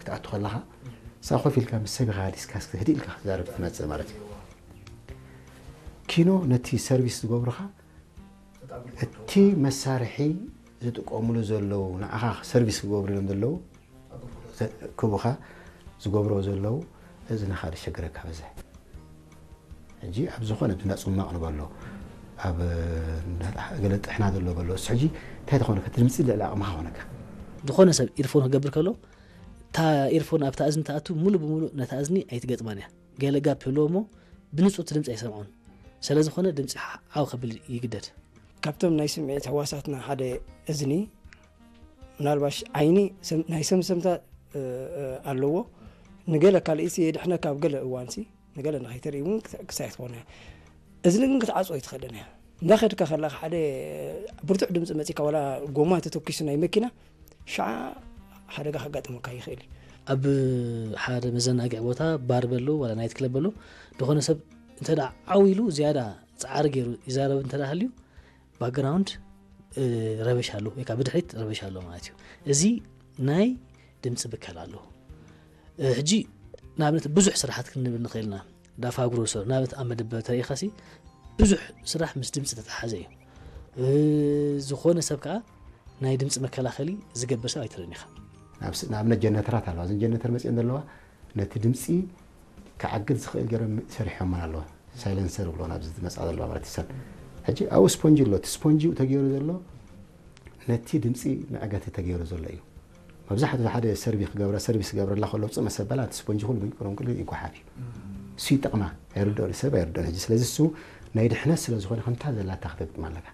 ክትኣቱ ከለኻ እሳ ኮፍ ኢልካ ምስ ሰብ ኢኻ ዲስካስ ህድእ ኢልካ ክትዛረብ ትመፅእ ማለት እዩ። ኪኖ ነቲ ሰርቪስ ዝገብሩኻ እቲ መሳርሒ ዝጥቀሙሉ ዘለዉ ንዓኻ ሰርቪስ ክገብሩ ኢሎም ዘለዉ ክቡኻ ዝገብርዎ ዘለዉ እዝንኻ ዝሸግረካ በዝሕ። ሕጂ ኣብ ዝኾነ ብና ጽማቕ ንበሎ ኣብ ገለ ጥሕና ዘሎ በሎ እሱ ሕጂ እንታይ ተኾነ ከትድምፂ ልዕሊ ኣቕምኻ ኾነካ። ዝኾነ ሰብ ኢርፎን ክገብር ከሎ እታ ኢርፎን ኣብታ እዝኒ ትኣቱ ሙሉ ብሙሉ ነታ እዝኒ ኣይትገጥማን እያ። ገለ ጋፕ ህልዎ እሞ ብንጹር እቲ ድምፂ ኣይሰምዖን። ስለ ዝኾነ ድምፂ ዓው ከብል ይግደድ። ካብቶም ናይ ስምዒት ህዋሳትና ሓደ እዝኒ ምናልባሽ ዓይኒ ናይ ሰምሰምታ ኣለዎ። ንገለ ካልእሲ የድሕነካ ኣብ ገለ እዋንሲ ንገለ ንኸይተርኢ እውን ክሳይ ትኾነ። እዝኒ ግን ክትዓፅኦ ኣይትኽእልን እያ። እንዳኸድካ ከለካ ሓደ ብርቱዕ ድምፂ መፂካ ዋላ ጎማ ተተኪሱ ናይ መኪና ሻዓ ሓደጋ ከጋጥመካ ይኽእል እዩ። ኣብ ሓደ መዘናግዒ ቦታ ባር በሉ ዋላ ናይት ክለብ በሉ ዝኾነ ሰብ እንተ ደኣ ዓው ኢሉ ዝያዳ ፃዕሪ ገይሩ ይዛረብ እንተ ደኣ ሃልዩ ባክግራውንድ ረበሽ ኣሎ ወይ ከዓ ብድሕሪት ረበሽ ኣሎ ማለት እዩ። እዚ ናይ ድምፂ ብከላ ኣለዎ። ሕጂ ንኣብነት ብዙሕ ስራሓት ክንብል ንኽእል ኢና። ዳፋ ግሮሰር ንኣብነት ኣብ መደበር ተሪኢኻሲ ብዙሕ ስራሕ ምስ ድምፂ ተተሓዘ እዩ። ዝኾነ ሰብ ከዓ ናይ ድምፂ መከላኸሊ ዝገብር ሰብ ኣይትርእን ኢኻ። ንኣብነት ጀነተራት ኣለዋ። እዘን ጀነተር መፅአን ዘለዋ ነቲ ድምፂ ክዓግት ዝኽእል ገይሮም ሰሪሖምን ኣለዋ። ሳይለንሰር ብሎ ናብዚ ዝመፃ ዘለዋ ማለት ይሰን ሕጂ ኣብኡ ስፖንጂ ኣሎ። እቲ ስፖንጂ ተገይሩ ዘሎ ነቲ ድምፂ መዕገቲ ተገይሩ ዘሎ እዩ። መብዛሕትኡ ሓደ ሰርቪ ክገብረ ሰርቪስ ክገብረላ ከሎ ውፅእ መሰበላ እቲ ስፖንጂ ኩሉ ምንቅሮም ክሉ ይጓሓፍ እዩ። እሱ ይጠቕማ ኣይርድኦን ሰብ ኣይርድኦን ሕጂ ስለዚ እሱ ናይ ድሕነት ስለ ዝኾነ ከምታ ዘላታ ክተግጥማ ኣለካ።